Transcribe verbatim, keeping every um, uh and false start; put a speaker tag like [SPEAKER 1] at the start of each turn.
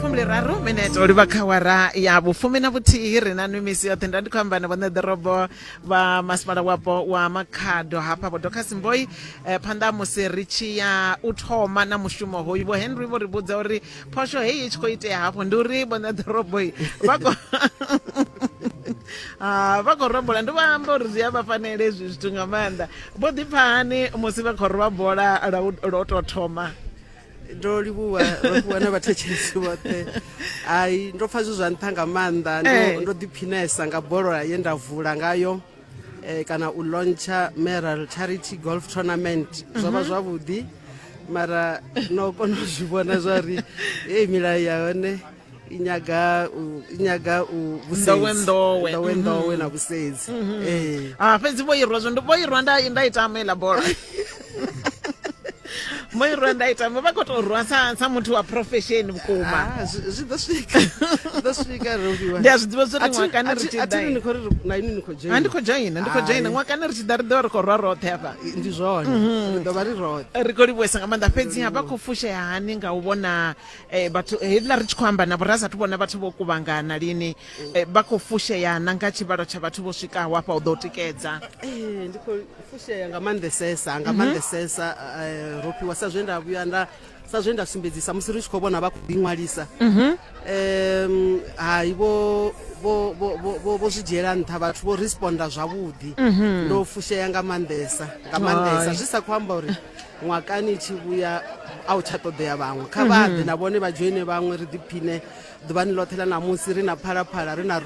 [SPEAKER 1] Fumbiliraru minete u livha kha awara ya vhufumi na vhuthihi. Ri na nwi misi yoṱhe. Nda ndi khou amba na vhone ḓorobo vha masipala wapo wa Makhado hafha, Vho Dorcas Mboi. eh, phanḓa ha musi ri tshi ya u thoma na mushumo hoyu, Vho Henry vho ri vhudza uri phosho heyi i tshi khou itea hafho ndi uri vhone ḓorobo vha khou Ah, vha khou rwa bola. Ndi vha amba uri zwi a vha fanela hezwi zwithu nga maanḓa. Vho ḓipfa hani musi vha khou rwa bola lwa u lwa u tou thoma?
[SPEAKER 2] Ndo livhuwa, Rofhiwa, na vhathetshelesi vhoṱhe. Hai, ndo pfa zwi zwa nṱha nga maanḓa.
[SPEAKER 1] Eh.
[SPEAKER 2] ndo, ndo ḓiphinesa nga bola ye nda vula ngayo eh, kana u launcha Mayoral Charity Golf Tournament. Zwo vha zwavhuḓi, mara no kona u zwi vhona zwa uri heyi milayo ya hone i nyaga u i nyaga u vhusedzi.
[SPEAKER 1] Nḓowenḓowe.
[SPEAKER 2] Nḓowenḓowe na vhusedzi, ee.
[SPEAKER 1] Ah, fhedzi vho irwa zwo vho irwa nda nda i tama iḽa bola. Vho irwa nda i tama, vha khou tou rwa sa sa muthu wa profession vhukuma.
[SPEAKER 2] Ah, zwi zwi ḓo swika, zwi ḓo swika, Rofhiwa.
[SPEAKER 1] Ndi a zwi ḓivha zwa uri ṅwakani ri tshi
[SPEAKER 2] A thi
[SPEAKER 1] ḓa
[SPEAKER 2] ni khou ri na inwi ni khou
[SPEAKER 1] Ah, ndi khou dzhoina, ndi khou dzhoina.
[SPEAKER 2] Hai.
[SPEAKER 1] Ṅwakani ri tshi ḓa ri ḓo vha ri khou rwa roṱhe hafha.
[SPEAKER 2] Ndi zwone, ri ḓo vha ri roṱhe.
[SPEAKER 1] Ri khou livhuwesa nga maanḓa. Fhedziha vha khou fushea hani nga u vhona eh, vhathu heiḽa ri tshi khou amba navho ra sathu vhona vhathu vho kuvhangana lini, eh, vha khou fushea na nga tshivhalo tsha vhathu vho swikaho hafha u ḓo tikedza?
[SPEAKER 2] Ee, ndi khou fushea nga maanḓesesa, nga maanḓesesa, eh, Rofhiwa, sa zwe nda vhuya nda sa zwe nda sumbedzisa musi ri tshi khou vhona vha khou ḓiṅwalisa. um hai, vho vho vho vho- vho vho zwi dzhiela nṱha, vhathu vho responda zwavhuḓi. Ndo fushea nga maanḓesa, nga maanḓesa.
[SPEAKER 1] Hai.
[SPEAKER 2] Zwi sa khou amba uri ṅwakani tshi vhuya a u tsha ṱoḓea vhaṅwe, kha vha ḓe na vhone vha dzhoine vhaṅwe, ri ḓiphine ḓuvhani ḽoṱhe ḽa ṋamusi ri na Phalaphala, ri na